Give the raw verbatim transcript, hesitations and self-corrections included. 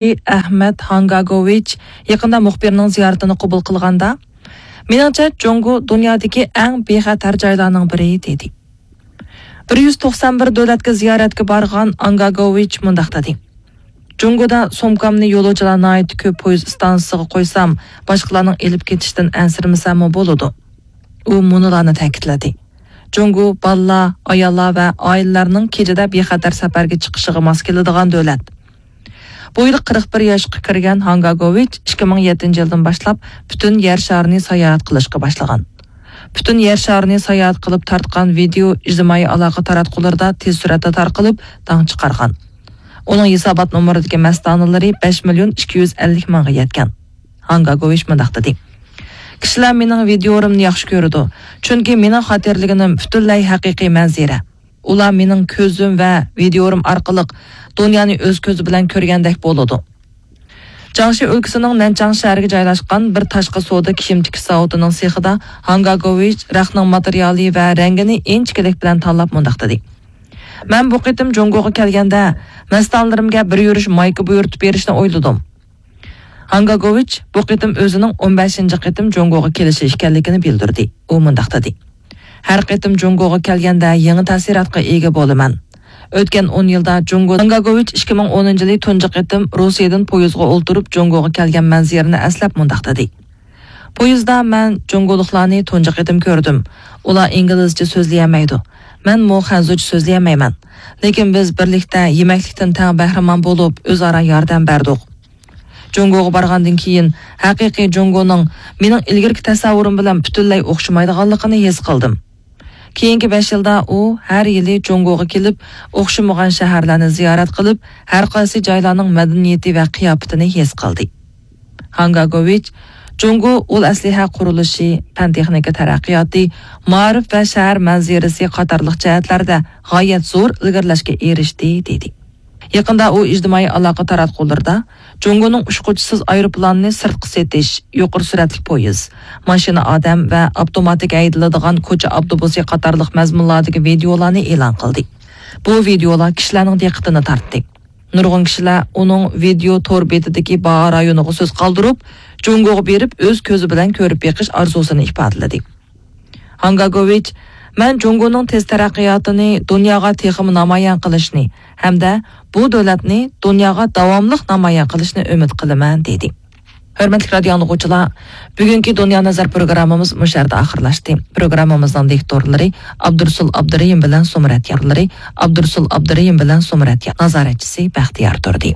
ئەخمەت ھاڭگاگوۋىچ يېقىندا مۇخبىرنىڭ زىيارىتىنى قوبۇل قىلغاندا، مېنىڭچە، جۇڭگو دۇنيادىكى ئەڭ بىخەتەر جايلارنىڭ بىرى، دېدى. بىر يۈز توقسان بىر دۆلەتكە زىيارەتكە بارغان ئانگاگوۋىچ مۇنداق دېدى: جۇڭگودا سومكامنى يولۇچىلار ناھايىتى كۆپ پويىز ئىستانسىسىغا قويسام، باشقىلارنىڭ ئېلىپ كېتىشتىن ئەنسىرىمىسەممۇ بولىدۇ. ئۇ مۇنۇلارنى تەكىتلىدى: جۇڭگو بالىلار، ئاياللار ۋە ئائىلىلەرنىڭ كېچىدە بىخەتەر سەپەرگە چىقىشىغا ماس كېلىدىغان دۆلەت. بۇ يىل قىرىق بىر ياشقا كىرگەن ھاڭگاگوۋىچ ئىككى مىڭ يەتتىنچى يىلدىن باشلاپ پۈتۈن يەر شارىنى ساياھەت قىلىشقا باشلىغان. پۈتۈن يەر شارىنى ساياھەت قىلىپ تارتقان ۋىدېئو ئىجتىمائىي ئالاقە تاراتقۇلىرىدا تېز سۈرئەتتە تارقىلىپ، داڭ چىقارغان. ئۇنىڭ ھېسابات نومۇرىدىكى مەستانىلىرى بەش مىليون ئىككى يۈز ئەللىك مىڭغا يەتكەن. ھاڭگاگوۋىچ مۇنداق دېدى: كىشىلەر مېنىڭ ۋىدېئولىرىمنى ياخشى كۆرىدۇ، چۈنكى مېنىڭ خاتىرىلىگىنىم پۈتۈنلەي ھەقىقىي مەنزىرە. ئۇلار مېنىڭ كۆزۈم ۋە ۋىدېئولىرىم ئارقىلىق دۇنيانى ئۆز كۆزى بىلەن كۆرگەندەك بولىدۇ. جياڭشى ئۆلكىسىنىڭ نەنچاڭ شەھىرىگە جايلاشقان بىر تاشقى سودا كىيىم تىكىش زاۋۇتىنىڭ سېخىدا ھاڭگاگوۋىچ رەختنىڭ ماتېرىيالى ۋە رەڭگىنى ئىنچىكىلىك بىلەن تاللاپ مۇنداق دېدى: مەن بۇ قېتىم جۇڭگوغا كەلگەندە، مەستانىلىرىمگە بىر يۈرۈش مايكا بۇيرۇتۇپ بېرىشنى ئويلىدىم. ھاڭگاگوۋىچ بۇ قېتىم ئۆزىنىڭ ئون بەشىنچى قېتىم جۇڭگوغا كېلىشى ئىكەنلىكىنى بىلدۈردى. ئۇ مۇنداق دېدى: ھەر قېتىم جۇڭگوغا كەلگەندە يېڭى تەسىراتقا ئىگە بولىمەن. ئۆتكەن ئون يىلدا جۇڭگو، ھاڭگاگوۋىچ ئىككى مىڭ ئونىنچى يىلى تۇنجى قېتىم روسىيەدىن پويىزغا ئولتۇرۇپ جۇڭگوغا كەلگەن مەنزىرىنى ئەسلەپ مۇنداق دېدى: پويىزدا مەن جۇڭگولۇقلارنى تۇنجى قېتىم كۆردۈم. ئۇلار ئىنگلىزچە سۆزلىيەلمەيدۇ. مەنمۇ خەنزۇچە سۆزلىيەلمەيمەن. لېكىن بىز بىرلىكتە يېمەكلىكتىن تەڭ بەھرىمەن بولۇپ، ئۆزئارا ياردەم بەردۇق. جۇڭگوغا بارغاندىن كېيىن، ھەقىقىي جۇڭگونىڭ مېنىڭ ئىلگىرىكى تەسەۋۋۇرۇم بىلەن پۈتۈنلەي ئوخشىمايدىغانلىقىنى ھېس قىلدىم. كېيىنكى بەش يىلدا ئۇ ھەر يىلى جۇڭگوغا كېلىپ، ئوخشىمىغان شەھەرلەرنى زىيارەت قىلىپ، ھەر قايسى جايلارنىڭ مەدەنىيىتى ۋە قىياپىتىنى ھېس قىلدى. ھاڭگاگوۋىچ جۇڭگو ئۇل ئەسلىھە قۇرۇلۇشى، پەن تېخنىكا تەرەققىياتى، مائارىپ ۋە شەھەر مەنزىرىسى قاتارلىق جەھەتلەردە غايەت زور ئىلگىرىلەشكە ئېرىشتى، دېدى. يېقىندا ئۇ ئىجتىمائىي ئالاقە تاراتقۇلىرىدا جۇڭگونىڭ ئۇچقۇچىسىز ئايروپىلانىنى سىرتقا سېتىش، يۇقىرى سۈرئەتلىك پويىز، ماشىنا ئادەم ۋە ئاپتوماتىك ھەيدىلىدىغان كوچا ئاپتوبۇسى قاتارلىق مەزمۇنلاردىكى ۋىدېئولارنى ئېلان قىلدى. بۇ ۋىدېئولار كىشىلەرنىڭ دىققىتىنى تارتتى. نۇرغۇن كىشىلەر ئۇنىڭ ۋىدېئو تور بېتىدىكى باھا رايونىغا سۆز قالدۇرۇپ، جۇڭگوغا بېرىپ ئۆز كۆزى بىلەن كۆرۈپ بېقىش ئارزۇسىنى ئىپادىلىدى. ھاڭگاگوۋىچ، مەن جۇڭگونىڭ تېز تەرەققىياتىنى دۇنياغا تېخىمۇ نامايان قىلىشنى ھەمدە بۇ دۆلەتنى دۇنياغا داۋاملىق نامايان قىلىشنى ئۈمىد قىلىمەن، دېدى. ھۆرمەتلىك رادىئو ئاڭلىغۇچىلار، بۈگۈنكى دۇنيا نەزەر پروگراممىمىز مۇشۇ يەردە ئاخىرلاشتى. پروگراممىمىزنىڭ دىكتورلىرى ئابدۇرسۇل ئابدۇرېھىم بىلەن سومرەت يارلىرى، ئابدۇرسۇل ئابدۇرېھىم بىلەن سومرەت يار، نازارەتچىسى بەختىيار تۇردى.